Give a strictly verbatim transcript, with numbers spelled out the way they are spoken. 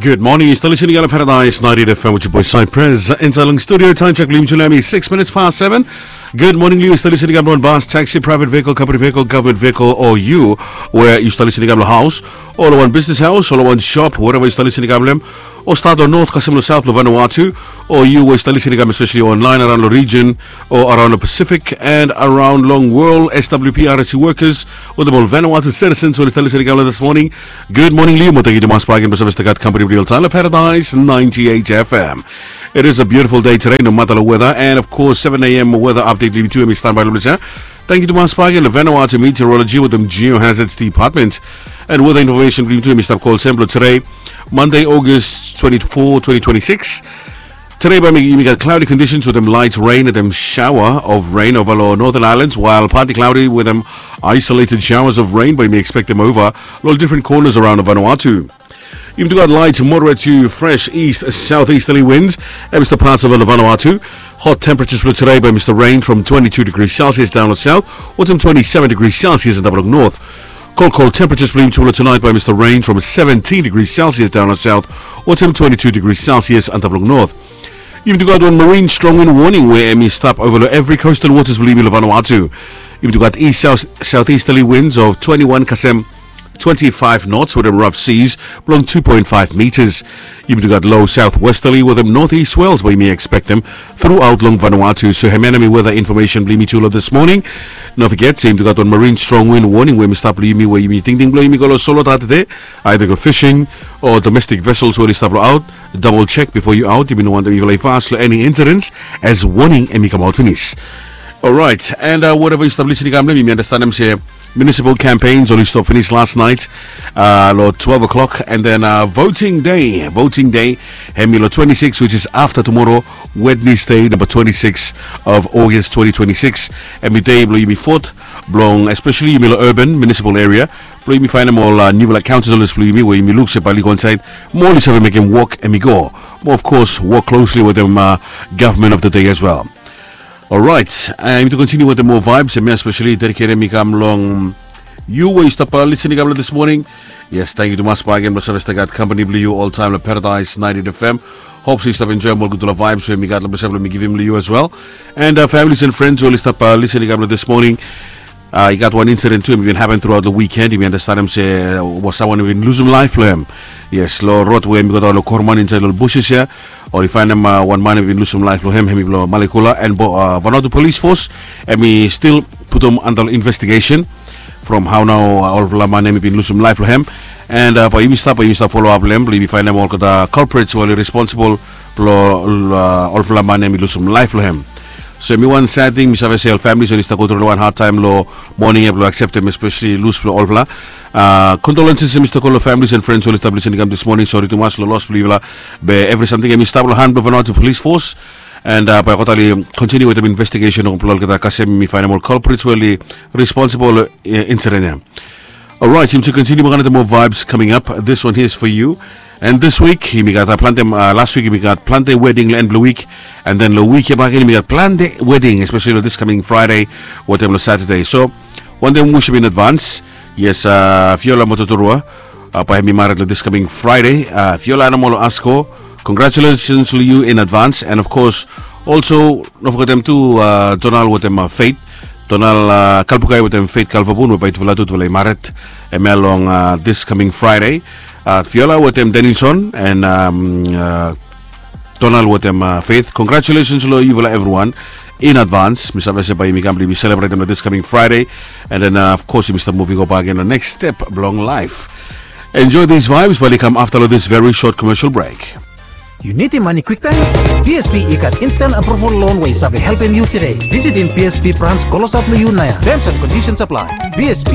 Good morning, yu stap listening long Paradise ninety-eight F M with your boy Cypress. Inside long studio, time check, Lim Chulemi, six minutes past seven. Good morning, yu stap listening long bus, taxi, private vehicle, company vehicle, government vehicle, o yu we yu stap listening long haus, o long wan business house, o long wan shop, wherever yu stap listening long, o stap long north kasem long south long Vanuatu, o yu we yu stap listening especially online around long region, o around long Pacific and around long world, S W P R S C workers, wetem ol Vanuatu citizens we oli stap listening long this morning. Good morning, Liu. Mo tankyu tumas bak gen blong save stap gat company blong yu oltaem long Paradise ninety-eight F M. It is a beautiful day today, no matter long weather. And of course, seven a.m. weather update blong yumi tu hemi standby long ples ia. Tankyu tumas bak gen long Vanuatu Meteorology wetem Geohazards Department. And weather information blong yumi tu hemi stap go olsem blong today, Monday, August twenty-four, twenty twenty-six. Today bae yumi gat cloudy conditions wetem light rain and then shower of rain over long Northern Islands, while partly cloudy wetem isolated showers of rain bae yumi expectem over long different corners around Vanuatu. Yumi tu gat light, moderate to fresh east southeasterly winds hemi stap pas ova long Vanuatu. Hot temperatures blong today bae yumi stap range from twenty-two degrees Celsius down long south wetem twenty-seven degrees Celsius antap long north. Cold, cold temperatures blong yumi tu long tonight bae yumi stap range from seventeen degrees Celsius down long south wetem twenty-two degrees Celsius antap long north. Yumi tu gat wan marine strong wind warning we hemi stap ova long evri coastal waters blong yumi long Vanuatu. Yumi tu gat east south, southeasterly winds of twenty-one kasem twenty-five knots wetem rough seas blong two point five meters. Yumi tu gat low southwesterly wetem northeast swells bae yumi expectem throughout long Vanuatu. So hemia nao hemi weather information blong yumi tu long this morning. No foget se yumi tu gat wan marine strong wind warning we hemi stap long yumi we yumi tingting blong yumi go long solo tade, either go fishing o domestic vessels we oli stap long aot, double check before you out. Yumi no wantem yufala i fas long any incidents, as warning hemi kamaot finis. Alright, and uh, wherever yu stap listening long hem, yumi andastanem se municipal campaigns oli stop finis last night, uh, long twelve o'clock, and then uh, voting day, voting day hemi long twenty-six, which is after tomorrow, Wednesday, number twenty-six of August twenty twenty-six. Hemi dei blong yumi vote, blong especially yumi long urban municipal area, blong yumi faenem ol uh, nufala councillors blong yumi we yumi luk se bae oli go insaed, mo oli save mekem wok hemi go. Mo of course, work closely wetem uh, government of the day as well. Alright, uh, yumi tu kontiniu wetem moa vibes, hemia especially dediketem i kam long yu we yu stap uh, listening i kam long this morning. Yes, tankyu tumas bak gen blong save stap gat company blong yu oltaem long Paradise ninety-eight F M. Hope se yu stap enjoem ol gudfala vibes we mi gat long blong save blong mi givim long yu as well. And uh, families and friends we oli stap uh, listening i kam long this morning. Uh, i gat wan incident tu hemi bin hapen throughout long weekend. Yumi andastanem se uh, was someone hemi bin lusum laef blong hem. Yes, long rod we hemi go daon long Korman insaed long ol bushes ia, oli faenem uh, wan man hemi bin lusum laef blong hem, hemi blong Malekula, and bo- uh, Vanuatu Police Force hemi stil putum anda long investigation from hao nao uh, olfala man hemi bin lusum laef blong hem. And uh, bae yumi stap, bae yumi stap follow up long hem blong yumi faenem olgeta culprits we oli responsible blong uh, olfala man hemi lusum laef blong hem. So hemi wan sad ting, mi save se ol families oli stap go tru long wan hard time long moning ia blong akseptem especially lus blong olfala. Uh, condolences hemi stap go long families and friends we oli stap listening i kam this morning. Sori tumas long los blong yufala, be evri samting hemi stap long han blong Vanuatu Police Force. And uh, bae olgeta oli kontiniu wetem investigation blong olgeta kasem mi faenem ol culprits we oli responsible long uh, incident ia. Alright, yumi tu kontiniu bak gen wetem moa vibes coming up. This one here is for you. And this week yumi gat uh, plante, uh, last week yumi gat plante wedding long en blong wik. And then long wik ia bak gen yumi gat plante wedding, especially long this coming Friday wetem long Saturday. So wantem wishim in advance. Yes, uh, Fiola Mototorua, uh, bae hemi mared long this coming Friday. Uh, Fiola Anamolo Asko, congratulations long yu in advance. And of course, also no fogetem tu uh, Donald wetem uh, Faith, Donald uh, Kalbukai wetem Faith Kalvabun, we bae tufala tu tufala i mared hemia long uh, this coming Friday. Uh, Fiola wetem Denison and um, uh, Donald wetem uh, Faith, congratulations long yufala evriwan in advance. Mi save se bae yumi kam blong yumi selebretem long this coming Friday. And then uh, of course yumi stap moving go bak gen long next step blong laef. Enjoy these vibes, bae oli kam afta long this very short commercial break. Yu nidim mane kwiktaem? B S B i gat instant approval loan we i save helpem yu tede. Visitim B S B branch klosap long yu naoia. Terms and conditions apply. B S B.